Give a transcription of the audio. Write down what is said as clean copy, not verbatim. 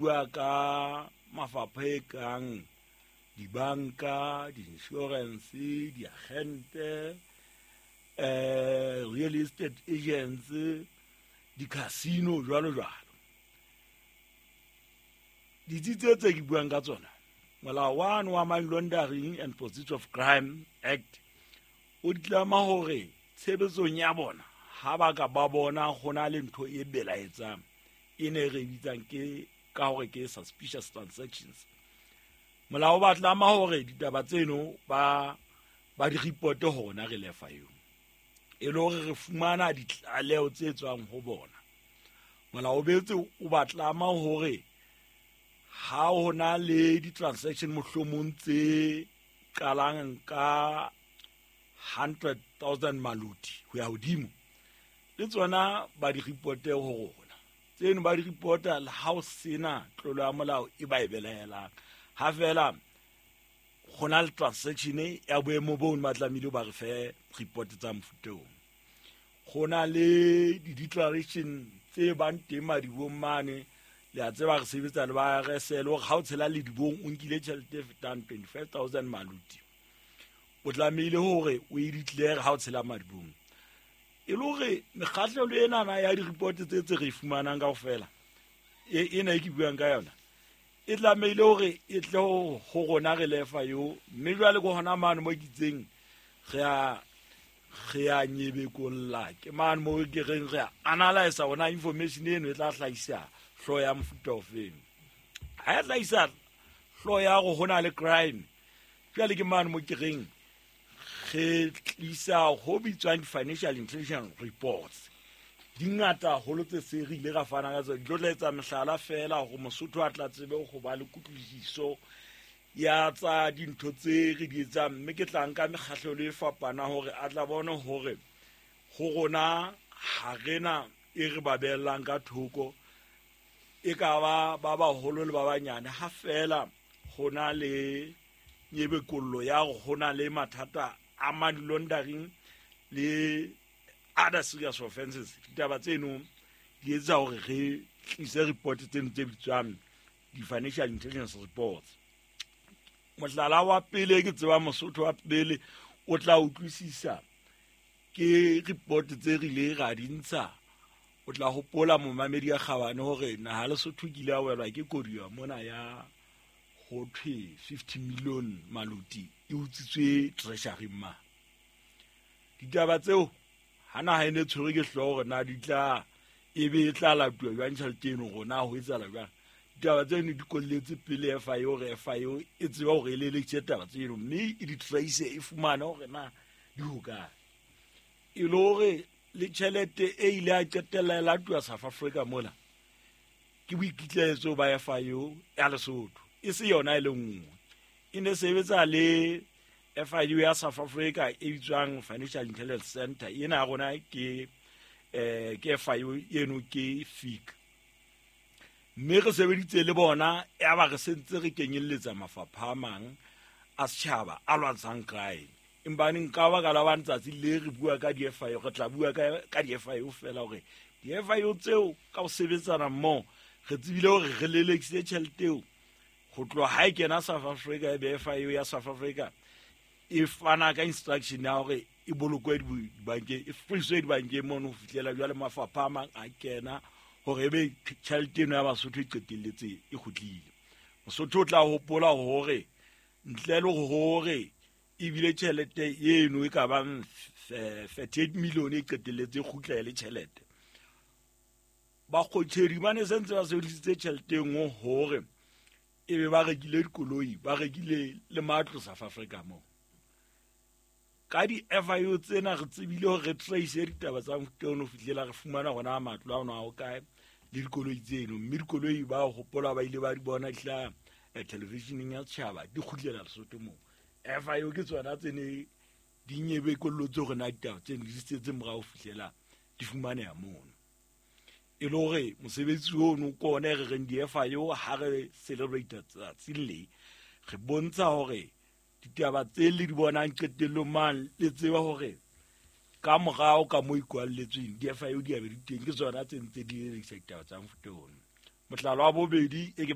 Bua ka mafapha e kang dibanka, di-insurance, diagente, real estate agents, di-casino jwalo jwalo. Ditsi tse tse ke buang ka tsona, molao wane wa Money Laundering and Proceeds of Crime Act o di tlama hore tshebetsong ya bona ha ba ka ba bona ho na le ntho e belaetsang e ne re bitsang ke ka hore ke suspicious transactions. Molao o ba tlama hore ditaba tseno ba di reporte ho rona re lefa eo, e le hore re fumana ditlaleho tse tswang ho bona. Molao o betse o ba tlama hore ha ho na le di-transaction mohlomong tse qalang ka 100,000 maluti ho ya hodimo, le tsona ba di reporte ho rona. Tseno ba di reporta le ha o sena tlolo ya molao e ba e belaelang, ha fela go na le transaction ya boemo boo ba tlamehile ba re fe report tsa mofuta oo. Go na le di-declaration tse bang teng madibong mane, le a tseba re sebetsa le ba RSL, hore ha o tshela ledibong o nkile tjhelete e fetang 25,000 maluti, o tlamehile hore o e declare ha o tshela madibong. E le hore mekgahlelo enana ya di-report tse tse re e fumanang kaofela, ena e ke buang ka yona, e tlamehile hore e tle ho rona re lefa eo. Mme jwale ke hona mane mo ke itseng re a nyebekolla, ke mane mo ke reng re a analysa hona information eno e tla hlahisa hlooho ya mofuta ofeng. Ha e hlahisa hlooho ya hore ho na le crime, jwale ke mane mo ke reng re tlisa ho bitswang di-financial intelligence reports. Di ngata haholo tse se re ile ra fana ka tsona. Di tlo tla etsa mehlala fela hore Mosotho a tla tsebe ho ba le kutlwisiso ya tsa dintho tse re di etsang, mme ke tla nka mekgahlelo e fapana hore a tla bone hore ho rona ha rena e re ba beellang ka thoko, e ka ba ba baholo le ba banyane, ha fela ho na le nyebekollo ya hore ho na le mathata a money laundering le other serious offenses. Ditaba tseno di etsa hore re tlise report tseno tse bitswang di-financial intelligence reports. Mohlala wa pele ke tseba Mosotho wa pele o tla utlwisisa ke report tse re ile ra di ntsha. O tla hopola momamedi ya kgabane hore naha Lesotho ke ile ya welwa ke koduwa mona ya ho thwe 50 million maluti e utswitswe treasury ma. Ditaba tseo ha naha e ne tshwerwe ke hlooho hore na di tla e be e tla latuwa jwang tjhelete eno, hore na ho etsahala jwang. Ditaba tseno di kolletse pele FIA hore FIA e tsebe hore e lelekise taba tseno, mme e di trace, e fumane hore na di hokae. E le hore le tjhelete e ile ya qetella e latuwa South Africa mola, ke boikitlaetso ba FIA ya Lesotho, e se yona e le nngwe. E ne sebetsa le FIU ya South Africa e bitswang Financial Intelligence Center. Ena ya rona ke FIU eno ke FIC. Mme re sebeditse le bona, ya ba re sentse re kenyelletsa mafapha a mang a setjhaba a lwantshang crime. Empa nka baka la bang tsatsi le re bua ka di-FIU, re tla bua ka di-FIU fela hore di-FIU tseo ka ho sebetsana mmoho re tsebile hore re lelekisitse tjhelete eo ho tloha ha e kena South Africa, e be FIU ya South Africa e fana ka instruction ya hore e bolokwe dibankeng, e freezwe dibankeng mono ho fihlela jwale mafapha a mang a kena hore ebe tjhelete eno ya Basotho e qetelletse e kgutlile. Mosotho o tla hopola hore ntle le hore ebile tjhelete eno e ka bang 38 million e qetelletse e kgutla e le tjhelete, bakgotjhedi ba ne sentse ba sebedisitse tjhelete e nngwe hore e be ba rekile dikoloi, ba rekile le matlo South Africa moo. Ka di-FIU tsena re tsebile hore re trace ditaba tsa mofuta ono ho fihlela re fumana hona matlo a ona a hokae le dikoloi tseno. Mme dikoloi ba hopola ba ile ba di bona di hlaha televisioneng ya setjhaba di kgutlela Lesotho moo. FIU ke tsona tse ne di nyebekollotse hore na ditaba tseno di setse morao ho fihlela di fumaneha mono. E le hore mosebetsi ono ke ona e re reng di-FIU ha re celebrate tsatsing le, re bontsha hore ditaba tse le di bonang qetellong mane le tseba hore ka morao ka mo ikwalletsweng di-FIU di a be di teng, ke tsona tse ntse di lelekisa ditaba tsa mofuta ono. Mohlala wa bobedi e ke